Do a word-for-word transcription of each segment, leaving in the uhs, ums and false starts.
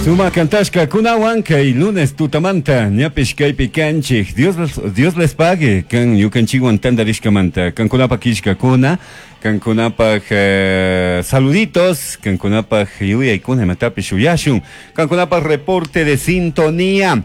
Suma kantashka kunawan kay lunes tutamanta ñapish kaypi kanchik. Dios, Dios les pague kan ñukanchikwan tantarishkamanta, kankunapaq killkakuna, kankunapaq eh, saluditos, kankunapaq yuyaykuna imatapish uyashun, kankunapaq reporte de sintonía.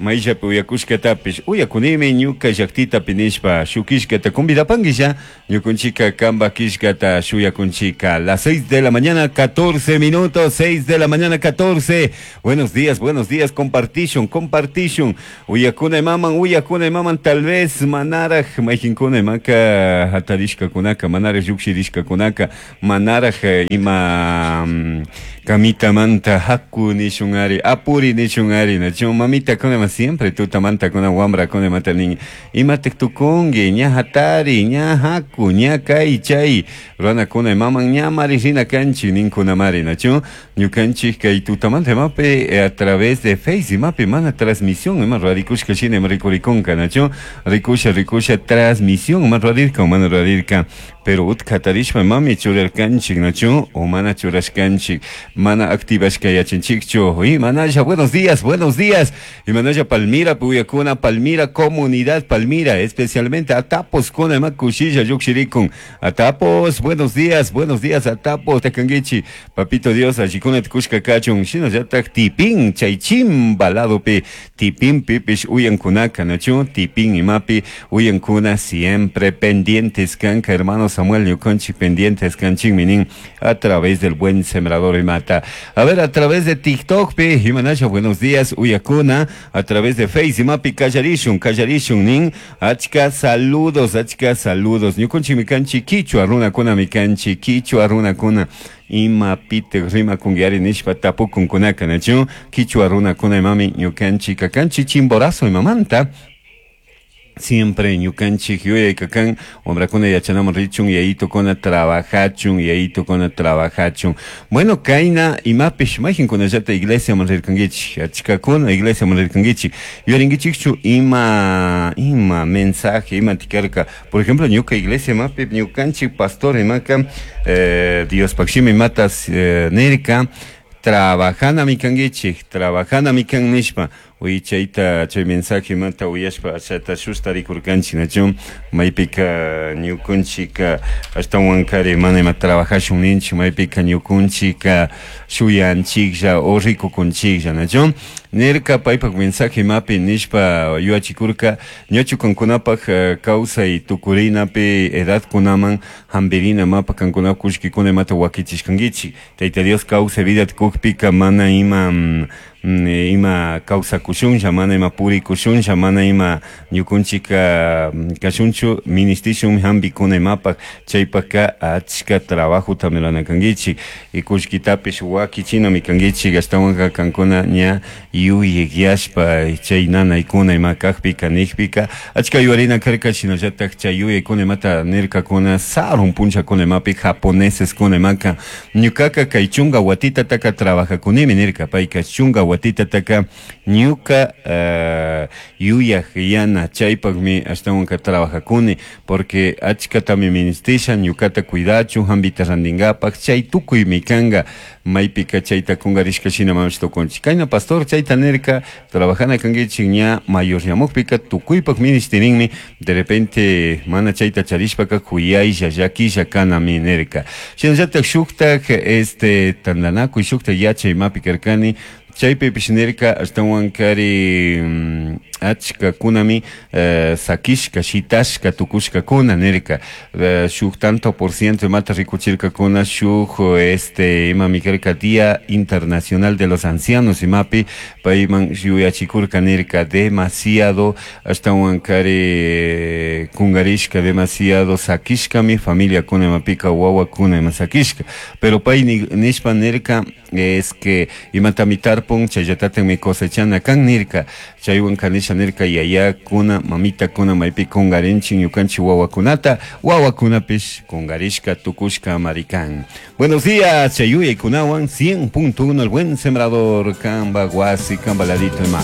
Mayllapi uyakushkatapish uyakunimi ñuka llaktitapi nishpa shuk killkata convidapanguilla, ñukunchika kamba killkata shuyakunchika. Las seis de la mañana catorce minutos, seis de la mañana catorce. Buenos días, buenos días, compartishun, compartishun. Uyakuna imaman, uyakuna imaman, tal vez manaraj mayqinkuna imaka hatarishkakunaka, manaraj llukshirishkakunaka, manaraj ima mm, kamitamanta haku nishun ari, apuri nishun ari, nachu mamita kuna siempre tutamanta kuna wamrakuna imata nin, imatik tukunki, ña hatari, ña haku, ña kay chay runakuna imaman ña mari rina kanchik ninkunamari, nachu ñukanchik kay tutamanta imapi a través de Face imapi mana transmisión ima rurarikushka shina ima rikurikunka, nachu rikusha rikusha transmisión ima rurarirka o mana rurarirka, pero utka hatarishpa imami churarkanchik, nachu o mana churashkanchik, mana activashka yachanchikchu. Imanalla, buenos días, buenos días. Imanalla Palmira, Puyacuna, Palmira, comunidad Palmira, especialmente Atapos kuna ima kushilla llukshirikun. Atapos, buenos días, buenos días, Atapos, takanguichi, papito Dios, allikuna tukushka kachun, shinallatak tipin, chay chimba ladopi, tipin pipish uyankunaka, nachu, tipin imapi, uyankuna siempre pendientes kanka, hermano Samuel ñukanchik pendientes kanchik minin, a través del Buen Sembrador imata. A ver, a través de TikTok, pi, imanalla, buenos días, uyakuna, a través de Face, imapi, kallarishun, kallarishun, nin, achka saludos, achka saludos, ñukanchik mikanchik kichwa runakuna mikanchik kichwa runakuna, imapitik rimakunkiari nishpa tapukunkunaka, nachu, kichwa runakuna imami ñukanchik kakanchik Chimborazo imamanta. Siempre ñukanchik yuyayka kan wamrakuna yachanaman richun, yayitukuna trabajachun, yayitukuna trabajachun. Bueno, kayna imapish mayqinkunallata iglesiaman rirkankichik, achkakuna iglesiaman rirkankichik, yuyarinkichikchu ima ima mensaje ima tikarka. Por ejemplo, ñuka iglesia imapi ñukanchik pastor imaka eh, Diospaq shimi imatas eh, nirka, trabajanami kankichik, trabajanami kan nishpa. Uy, chayta chay mensaje imata uyashpa achata shustarikurkanchik, nachu maypika ñukunchika ashtawankari mana ima trabajashun ninchik, maypika ñukunchika shuyanchiklla o rikukunchiklla, nachu nirka paypak mensaje imapi nishpa yuyachikurka ñachu kankunapak eh, kawsay tukurinapi edadkunaman hampirina mapa kankuna kullkikuna imata wakichishkankichik, Tayta Dios kawsay vida kukpika mana ima mm, ima kawsakushunlla, mana ima purikushunlla, mana ima ñukunchika kashunchu ministishun hampikuna imapak, chaypaka achka trabajota rurana kankichik y kullkitapish wakichinami kankichik, ashtawanka kankuna ña yuyayashpa chay nanaykuna ima kakpika nikpika achka yuyarina karka, shinallatak chay yuyaykuna imata nirkakuna sarun punchakuna imapi japoneseskuna imaka ñukaka kay chunka watitataka trabajakunimi nirka, payka chunka watitataka ñuka uh, yuyaj yana chaypakmi ashtawanka trabajakuni porque achkatami ministisha ñukata cuidachun hampita rantinkapak chay tukuymi kanka maypika chayta kunkarishka shina mamash tukunchik. Kayna pastor chayta nirka trabajana kankichik ña mayoryamukpika tukuypak ministirinmi, de repente mana chayta charishpaka kuyaylla llakilla kanami nirka. Shinallatak shuktak este tantanakuy shuktak yachay imapi karkani, chaypipish nirka ashtawankari mm, achkakunami eh, sakishka shitashka tukushkakuna nirka, eh, shuk tanto por ciento imata rikuchirkakuna shuk este imami karka Día Internacional de los Ancianos imapi payman yuyachikurka nirka demasiado ashtawankari kunkarishka demasiado sakishkami familiakuna imapika wawakuna ima sakishka, pero pay nishpa nirka es que imatami tarpun chayllatatami cosechana kan nirka, chaywan kanisha nirka yayakuna mamitakuna maypi kunkarinchik ñukanchik wawakunata, wawakunapish kunkarishka tukushka marikan. Buenos días, chayuyaykunawan cien punto uno El Buen Sembrador, kamba wasi, kamba ladito ima.